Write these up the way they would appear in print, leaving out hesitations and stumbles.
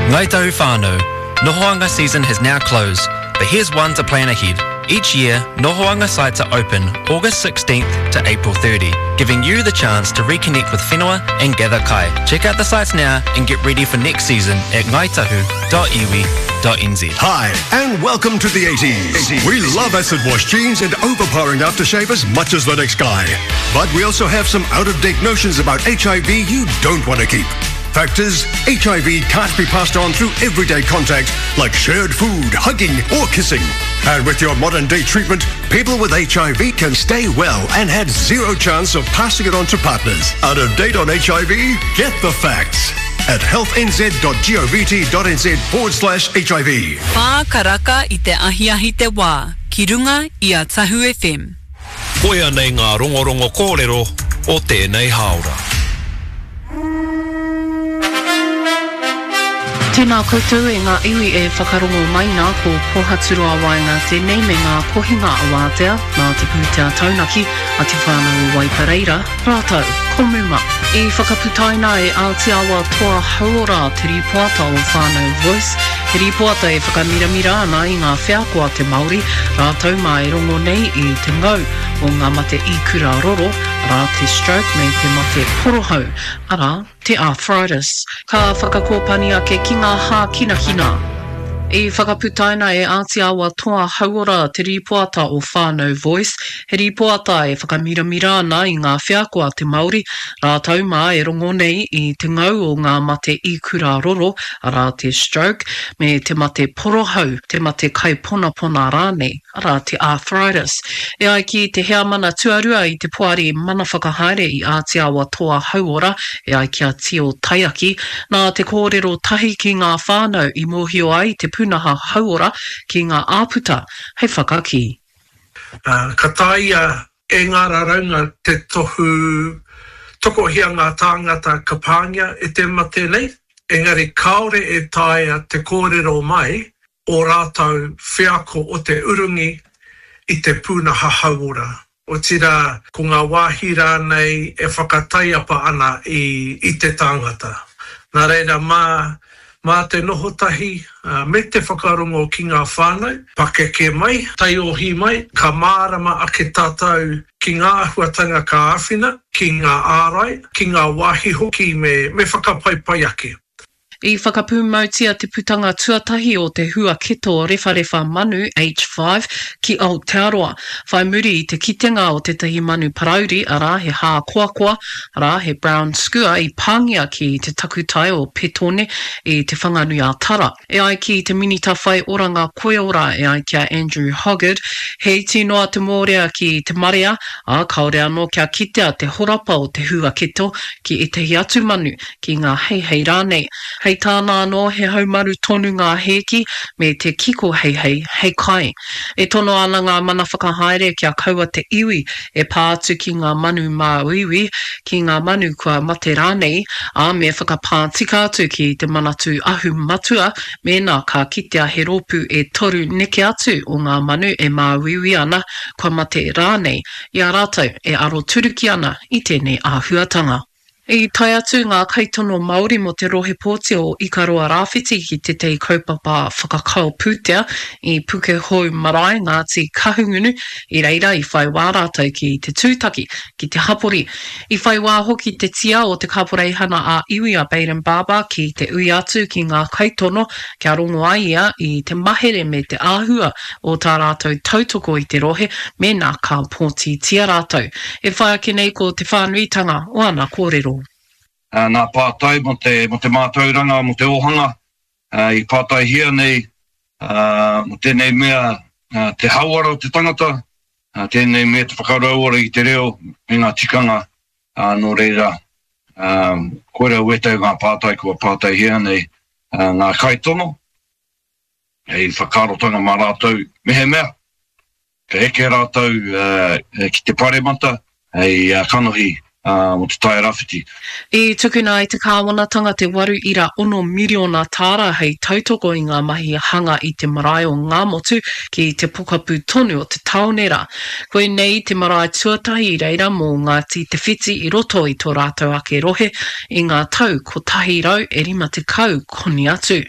Ngāi Tahu whānau, Nohoanga season has now closed, but here's one to plan ahead. Each year, Nohoanga sites are open August 16th to April 30, giving you the chance to reconnect with whenua and gather kai. Check out the sites now and get ready for next season at ngaitahu.iwi.nz. Hi, and welcome to the 80s. We love acid wash jeans and overpowering aftershave as much as the next guy. But we also have some out-of-date notions about HIV you don't want to keep. Fact is, HIV can't be passed on through everyday contact like shared food, hugging, or kissing. And with your modern day treatment, people with HIV can stay well and had zero chance of passing it on to partners. Out of date on HIV? Get the facts at healthnz.govt.nz forward slash HIV. Whā karaka i te ahiahi te wā, ki runga i a Tahu FM. Koia nei ngā rongorongo kōrero o tēnei hāora. Tēnā koutou e ngā iwi e whakarongo mai nā, ko Pohaturoa Waenga tēnei me ngā kohinga awātea nā te pūtea taunaki a Te Whānau o Waipareira rātou ko Muma. I whakaputaina e Ātiawa Toa Hauora te rīpoata o Whānau Voice, he rīpoata e whakamiramira ana i ngā wheako a te Māori, rātou mā e rongo nei i te ngau o ngā mate ikura roro, arā te stroke me te mate porohau, arā, te arthritis. Ka whakakōpani ake ki ngā hākinakina. I whakaputaina e Āti Awa Toa Hauora te rīpoata o Whānau Voice, he rīpoata e whakamiramira ana i ngā wheako a te Māori, rātou mā e rongo nei i te ngau o ngā mate ikura roro, arā te stroke, me te mate porohau, te mate kaiponapona rānei. arā, te arthritis. E ai ki te heamana tuarua i te Poari Mana Whakahaere i Ātiawa Toa Hauora, e ai ki a Tio Taiaki, nā te kōrero tahi ki ngā whānau i mōhio ai te pūnaha hauora ki ngā āputa hei whakakī. Ka taea e ngā raraunga te tohu tokohia ngā tāngata ka pāngia e te mate nei, engari kāore e taea te kōrero mai ō rātou wheako o te urungi i te pūnaha hauora, otirā, ko ngā wāhi rānei e whakataiapa ana i i te tāngata. Nā reira, mā, mā te noho tahi me te whakarongo ki ngā whānau, pakeke mai, taiohi mai, ka mārama ake tātou ki ngā āhuatanga ka āwhina, ki ngā ārai, ki ngā wāhi hoki me, me whakapaipai ake. I whakapūmautia te putanga tuatahi o te huaketo rewharewha manu H5 ki Aotearoa, whai muri i te kitenga o tētahi manu parauri, arā, he hākoakoa, arā, he brown skua i pāngia ki te takutai o Petone i Te Whanganui-a-Tara. E ai ki te Minita Whai Oranga Koiora, e ai ki a Andrew Hoggard, he iti noa te mōrea ki te marea, ā, kāore anō kia kitea te horapa o te huaketo ki ētahi atu manu, ki ngā heihei rānei. Hei tāna anō, he haumaru tonu ngā hēki me te kiko heihei hei kai. E tono ana ngā mana whakahaere kia kaua te iwi e pā atu ki ngā manu māuiui, ki ngā manu kua mate rānei, ā, me whakapā tika atu ki te Manatū Ahu Matua mēnā ka kitea he rōpū e toru neke atu o ngā manu e māuiui ana, kua mate rānei, i a rātou e aroturuki ana i tēnei āhuatanga. I tae atu ngā kaitono Māori mō te rohe pōti o Ikaroa Rāwhiti ki tētahi kaupapa whakakao pūtea i Pukehou Marae, Ngāti Kahungunu, i reira i whai wā rātou ki te tūtaki ki te hapori. I whai wā hoki te tia o te Kaporeihana ā-Iwi a Bayden Barber ki te ui atu ki ngā kaitono kia rongo ai ia i te mahere me te āhua o tā rātou tautoko i te rohe mēnā ka pōtitia rātou. E whai ake nei ko te whānuitanga o ana kōrero. Ngā pātai mō te, mō te mātauranga, mō te ōhanga, i pātaihia nei mō tēnei mea te hauora o te tangata, tēnei mea te whakarauora i te reo me ngā tikanga, nō reira, koirā wētahi o ngā pātai kua pātaihia nei ngā kaitono. Hei whakaarotanga mā rātou mehemea ka eke rātou ki te paremata hei kanohi mō te Tai Rāwhiti. I tukuna e te kāwanatanga te 8.6 miriona tāra hei tautoko i ngā mahi hanga i te marae o Ngāmotu ki te pokapū tonu o te tāone rā. Koinei te marae tuatahi i reira mō Ngāti Te Whiti i roto i tō rātou ake rohe i ngā tau 150 koni atu.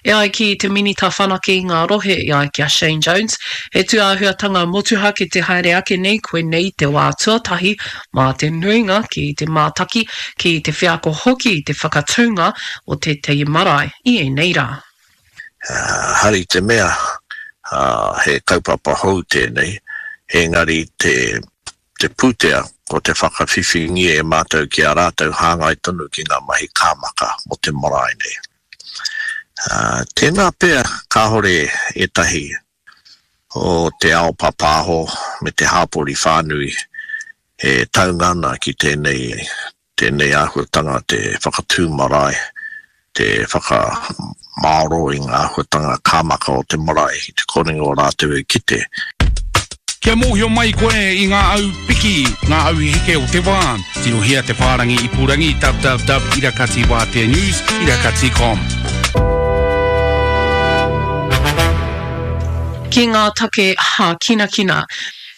E ai ki te Minita Whanake i ngā Rohe e ai ki a Shane Jones, he tūāhuatanga motuhake te haere ake nei koinei te wā tuatahi mā te nuinga ki te mātaki, ki te wheako hoki i te whakatūnga o tētahi marae i ēnei rā. Hari te mea he kaupapa hou tēnei, engari te te pūtea ko te whakawhiwhingia e mātou ki a rātou hāngai tonu ki ngā mahi kāmaka mō te marae nei. Tēnā pea kāore ētahi o te ao pāpāho me te hāpori whānui e taunga ana ki tēnei, tēnei āhuatanga te whakatū marae, te whakamāoro i ngā āhuatanga kāmaka o te marae i te korenga o rātou e kite. Kia mōhio mai koe i ngā au piki, ngā au heke o te wā, tirohia te whārangi ipurangi www irakati wātea news irakati com. Ki ngā take hākinakina.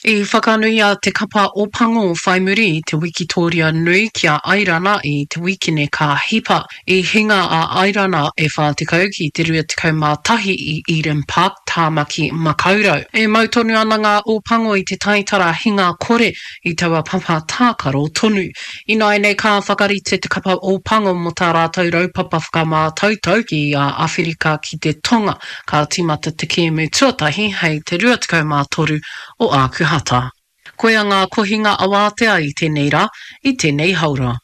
I whakanuia te kapa Opango whai muri i te wikitōria nui ki a Airana i te wīkene ka hipa. I hinga a Airana e 40 ki te 21 i Eden Park, Tāmaki Makaurau. E mau tonu ana ngā Opango i te taitara hinga kore i taua papa tākaro tonu. Ināianei ka whakarite te kapa Opango mō tā rātou raupapa whakamātautau ki a Awherika ki te Tonga. Ka tīmata te kēmu tuatahi hei te 23 o Ākuhata. Koia ngā kohinga awātea i tēnei rā, i tēnei haora.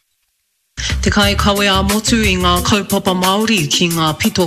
Te kaikawe ā-motu i ngā kaupapa Māori ki ngā pito.